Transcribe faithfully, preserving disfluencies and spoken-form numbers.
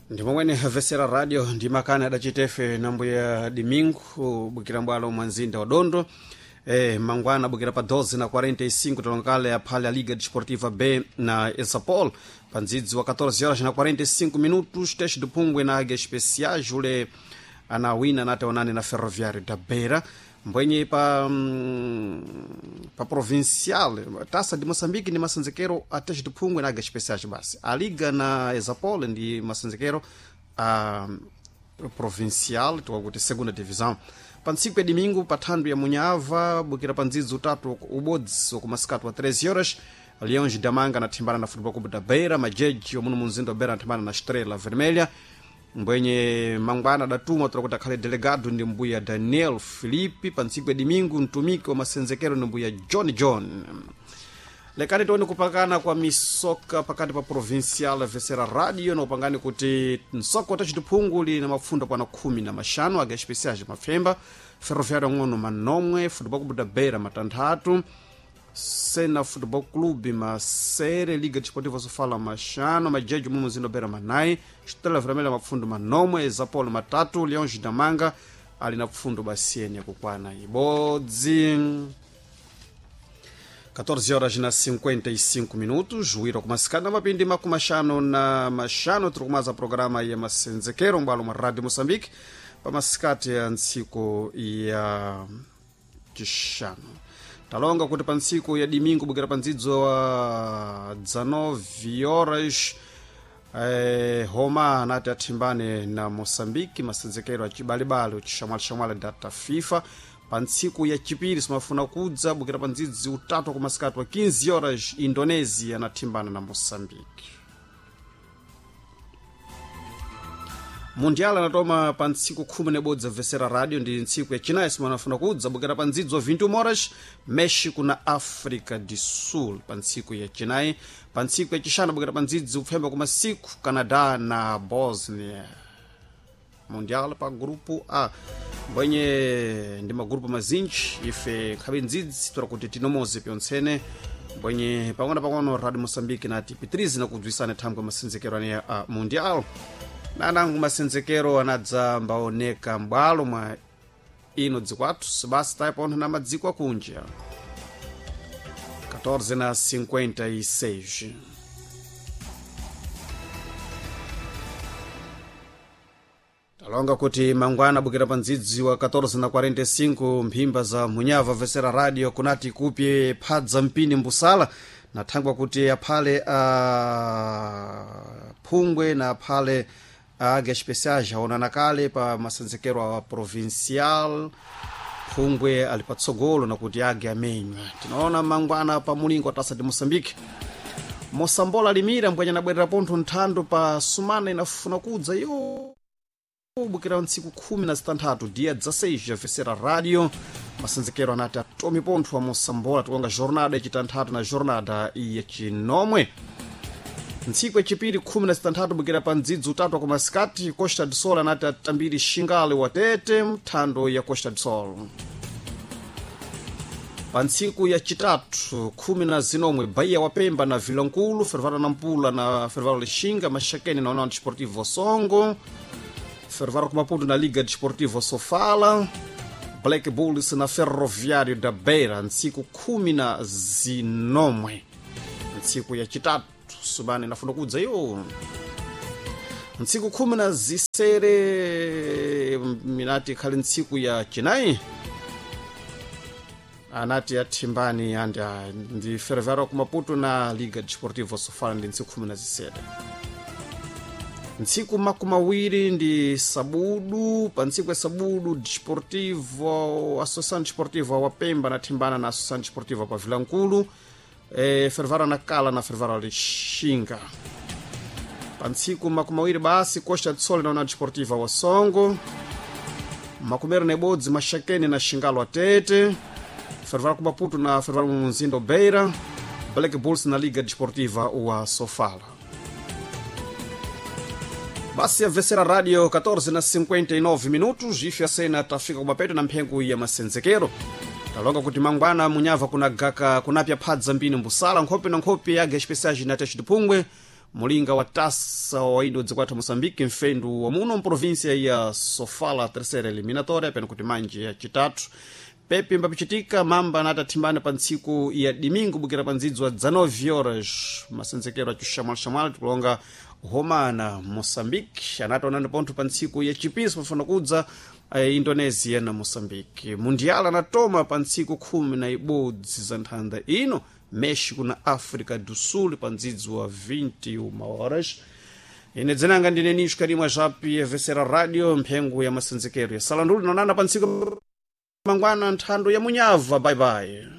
Ndi momwene havesera radio ndi makani adachitefe nambuya Domingo bukira mbwalo mwa mzinda wa Dondo. Eh, mangwana bukira pa doze na quarenta e cinco talonkale aphale a Liga Desportiva B na Esapol pa ndzidzi wa catorze horas na quarenta e cinco minutos, Teste do Pungwe na Águia Especiais ule anawina nate onane na Ferroviário da Beira mbwenye pa mm, pa provincial Taça de Moçambique ndi masanzekero a Teste do Pungwe na Águia Especiais basi a Liga na Esapol ndi masanzekero a provincial, tikakuti segunda divisão. Pa ntsiku ya domingo pa thandu ya Munhava bukira pa ndzidzi utatu ubodzi wakumasikati wa treze horas, Leões da Manga anathimbana na Futebol Clube da Beira, Majeji omuno mu mzinda wa Beira anathimbana na Estrela Vermelha. Mbwenye mangwana adatuma tola kuti akhale delegado ndi mbuya Daniel Filipe. Pa ntsiku ya domingo mtumiki wa masenzekero ndi mbuya John John. Lekani tione kupakana kwa misoka pakati pa provincial vesera radio na upangani kuti msoko wa tachitiphungu li na mafundo pana khumi na maxanu, aga especiais mafemba, Ferroviário ng'ono manomwe, Futebol Clube da Beira matanthatu, Sena Futebol Clube masere, Liga Desportiva Sofala maxano, Majejo mumu mzinda wa Beira manayi, Estrela Vermelha mafundo manomwe, Zapolo matatu, Leões da Manga ali na pfundo basiene yakukwana ibodzi. catorze horas na cinquenta e cinco minutos, juíro kumasikana mapindi makumaxano na maxano tiri kumaza programa ya masenzekero mbwalo mwa Radio Moçambique pamasikati ya ntsiku ya cixanu. Talonga kuti pa ntsiku ya domingo bukira pa ndzidzo wa dezenove horas, eh, Roma anati athimbane na Moçambique masenzekero acibalibali ucixamwalixamwali data FIFA. Pa ntsiku ya chipiri simafuna kudza bukira pa ndzidzi utatu kumasikati wa quinze horas, Indonesia anathimbana na Moçambique. Mundial anatoma pa ntsiku khumi nebodzi vesera radio ndi ntsiku ya chinayi simanafuna kudza bukira pa ndzidzo wa vinte e uma horas, México na África do Sul pa ntsiku ya chinayi. Pa ntsiku ya chixanu bukira pa ndzidzi kupfemba ku masiku, Canadá na Bosnia. Mundial pa grupo A mbwenye ndi magrupu mazinji ife nkhabe ndzidzi tora kuti tinomoze pyontsene mbwenye pang'ono pang'ono Radio Moçambique nati pitirize nakudzwisana thangwe masenzekero ane a mundial nanangu masenzekero anadza mbaoneka m'bwalo mwa ino dzikwathu sibasi taipontho na madziko akunja. catorze na cinquenta e seis. Talonga kuti mangwana bukira pa ndzidzi wa catorze na quarenta e cinco mphimba za Munhava vesera radio kunati kupye phadza mpini mbusala na thangwa kuti aphale a phungwe na aphale a Águia Especiais aonana kale pa masenzekero a provincial. Phungwe ali patsogolo nakuti Águia amenywa. Tinaona mangwana pa mulingo wa Taça de Moçambique, Mosambola limira mbwenya nabwerera pontho nthando pa sumana inafuna kudza yo bukira ntsiku khumi na zitanthatu dia dezesseis ya radio masenzekero anati atomi pontho wa Mosambola tikonga jornada yacitanthatu na jornada yacinomwe. Ntsiku yacipiri khumi na zitanthatu bukira pa ndzidzi utatu wa kumasikati, Costa do Sol anati atambiri Xingale watete mthando ya Costa do Sol. Pa ntsiku yacitatu khumi na zinomwe, Bahia wa Pemba na Vilankulu, Fervaro Nampula na Fervaro Lixinga, Maxaquene na União Desportivo Songo, Fervaro com Maputo na Liga Desportiva Sofala, Black Bulls na Ferroviário da Beira, ntsiku khumi na zinomwe ntsiku yacitatu subani inafuna kudza yo. Ntsiku khumi na zisere minati ikhali ntsiku ya chinayi anati athimbani andi ah, ndi Ferroviário ku Maputo na Liga Desportiva Sofala ndi ntsiku khumi na zisere. Ntsiku makumawiri ndi sabudu, pa ntsiku ya sabudu Desportivo Associação Desportiva wa Pemba anathimbana na Associação Desportiva pa Vilankulu, eh, Fervaro Nacala na Fervaro Lixinga. Pa ntsiku makumawiri basi, Costa do Sol na União Desportiva wa Songo. Makumeri na ibodzi, Maxaquene na Xingalo Atete, Fervaro ku Maputo na Fervaro Munzindo Beira, Black Bulls na Liga Desportiva wa Sofala. Basi ya vesera radio catorze na cinquenta e nove minutos ife a cena tafika kumapeto na mphengo ya masenzekero. Talonga kuti mangwana Munhava kuna gaka kunapya phadza mbini mbusala nkhope na nkhope ya Águia Especiais na Teste de Pungwe. Mulinga wa tasa wa indo dzikwatha Moçambique, mfendu wa muno mprovinsia ya Sofala, terceira eliminatória peno kuti manje ya chitatu. Pepi mbapichitika mamba natathimbana pa ntsiku ya domingo bukira pa ndzidzi wa dezenove horas, masenzekero acixamwalixamwali tikulonga Romana Moçambique anataonana pontho pa ntsiku ya chipiso pafuna kudza eh, Indonesia na Moçambique. Mundial anatoma pa ntsiku khumi na ibodzi za nthanda ino, México na África do Sul pa ndzidzi wa vinte e uma horas. Ine dzinanga ndine Nisho Karimwa Japi, Evesera Radio, mphengo ya masenzekero ya Salandulu. Nonana pa ntsiku mangwana, nthando ya munyava. Bye bye.